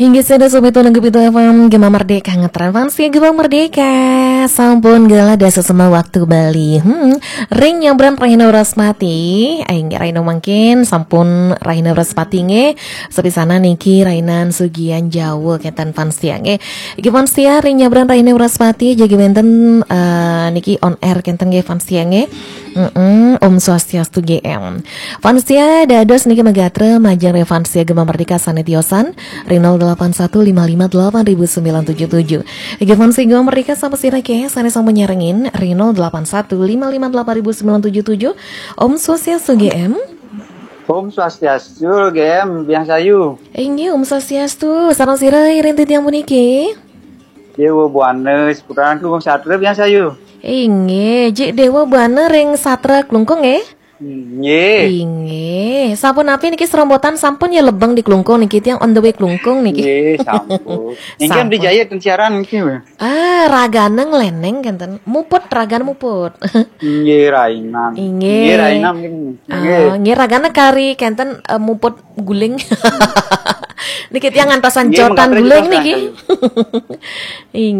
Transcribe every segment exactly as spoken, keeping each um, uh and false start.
Inggih, sada sobat nunggu pitu F M Gema Merdeka, ngetren fans ya Gema Merdeka. Sampun gala dasa sema waktu Bali. Hmm, ring nyabran Rahina Wraspati. Aing Rahina mangkin sampun Rahina Wraspati nggih. Sepisanan niki Rahinan Sugian Jawa kenten fans ya nggih. Iki fans ya ring nyabran Rahina Wraspati jagi wenten eh, niki on air kenten nggih fans ya nggih. Mm-mm, Om Swastiastu G M. Fansia dados niki magatra majeng ring Fansia Gema Merdeka sane tiosan ring nol delapan satu lima lima delapan ribu sembilan tujuh tujuh. Nggih Fansia Gema Merdeka sampun sira ke sane sampun nyarengin ring nol delapan satu lima lima delapan ribu sembilan tujuh tujuh. Om Swastiastu G M. Om Swastiastu G M, biang sayu. Inggih, Om Swastiastu. Sareng sira ring titiang puniki? Dewa Buana, Seputaran Klungkung Satra, biang sayu. Inggih, Jik Dewa Buana ring Satra Klungkung nggih? Nggih. Inggih. Sampun api niki serombotan sampun ya lebeng di Klungkung niki tiang on the way Klungkung niki. Nggih, sampun. Niki Sampun. Di Jaya ten siaran niki. Ah, ragane ngleneng kenten. Muput, ragane muput. Nggih, Rahinan. Inggih. Nggih, Rahinan nggih. Nggih. Ah, nggih ragane kari kenten eh, muput guling. Niki tiang ngantosan Nggih, jotan mengkatur guling kita niki. Inggih.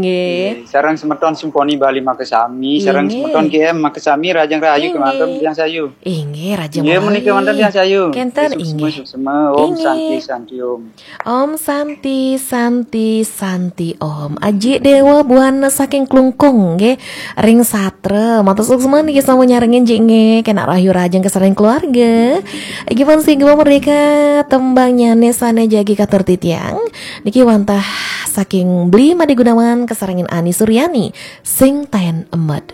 Nggih, sareng semeton Simponi Bali makasami, sareng Inggih. Semeton G M makasami, Rajang Rahayu Inggih. Kemanten tiang sayu. Inggih, Rajang Nggih, Rahayu. Menika wonten tiang sayu. Kenten, Suksma, inggih. Suksma. Om Inggih. Santi, Santi, Om. Om Santi, Santi, Santi, Om. Aji Dewa Buana saking Klungkung, nggih. Ring Satra, matur suksma niki sampun nyarengin Jik nggih. Kena rahayu rajeng kesereng keluarga. Iki pun sing Gema Merdeka tembang nyane sane jagi katur titiang. Niki wantah saking Bli Made Gunawan keserengin Ani Suryani. Sing taen emet.